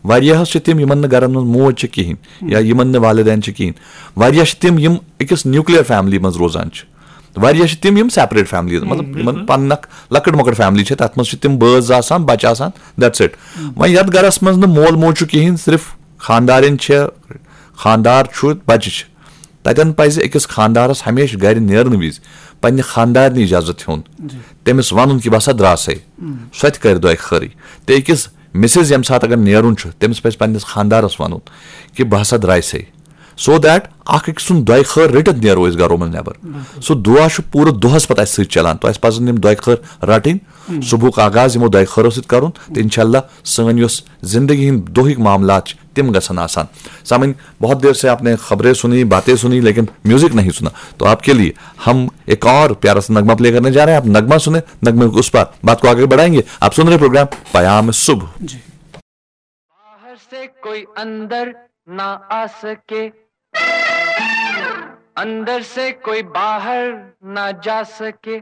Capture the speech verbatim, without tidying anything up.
واریاہس چھِ تِم، یِمن نہٕ گرن منٛز موج چھِ کِہینۍ یا یِمن نہٕ والدین چھِ کِہینۍ۔ واریاہ چھِ تِم، یِم أکِس نیوکلیئر فیملی منٛز روزان چھِ۔ واریاہ چھِ تِم، یِم سیپریٹ فیملی، مطلب، یِمن پننہِ اکھ لۄکٕٹ مۄکٕٹ فیملی چھِ، تتھ منٛز چھِ تِم بٲژ آسان، بچہِ آسان، دیٹس اِٹ۔ وۄنۍ یتھ گرس منٛز نہٕ مول موج چھُ کِہینۍ، صرف خاندارِنۍ چھِ، خاندار چھُ، بچہِ چھِ، تتٮ۪ن پزِ أکِس خاندارس ہمیشہِ گرِ نیرنہٕ وِزِ پننہِ خاندارنہِ اجازت ہیوٚن، تٔمِس ونُن کہِ بہٕ ہسا درٛاسے، سۄ تہِ کرِ دۄیہِ خٲرٕے۔ تہٕ أکِس مسز ییٚمہِ ساتہٕ اگر نیرُن چھُ، تٔمِس پزِ پننِس خاندارس ونُن کہِ بہٕ ہسا درٛایسے، سو دیٹ اکھ أکۍ سُنٛد دۄیہِ خٲر رٔٹِتھ نیرو أسۍ گرو منٛز نٮ۪بر۔ سُہ دُعا چھُ پوٗرٕ دۄہس پتہٕ اسہِ سۭتۍ چلان، تہٕ اسہِ پزن یِم دۄیہِ خٲر رٹٕنۍ۔ صبحُک آغاز یِمو دۄیہِ خٲرو سۭتۍ کرُن، تہٕ انشاءاللہ سٲنۍ یۄس زندگی ہٕنٛدۍ دۄہٕکۍ معاملات چھِ، تِم گژھن آسان۔ سامعین، بہت دیر سے آپ نے خبریں سنی، باتیں سنی، لیکن میوزک نہیں سنا۔ تو آپ کے لیے ہم ایک اور پیارا سا نغمہ پلے کرنے جا رہے ہیں۔ آپ نغمہ سنیں، نغمے کو اس پر بات کو آگے بڑھائیں گے۔ آپ سن رہے پروگرام پیام صبح۔ बाहर से कोई अंदर ना आ सके, अंदर से कोई बाहर ना जा सके।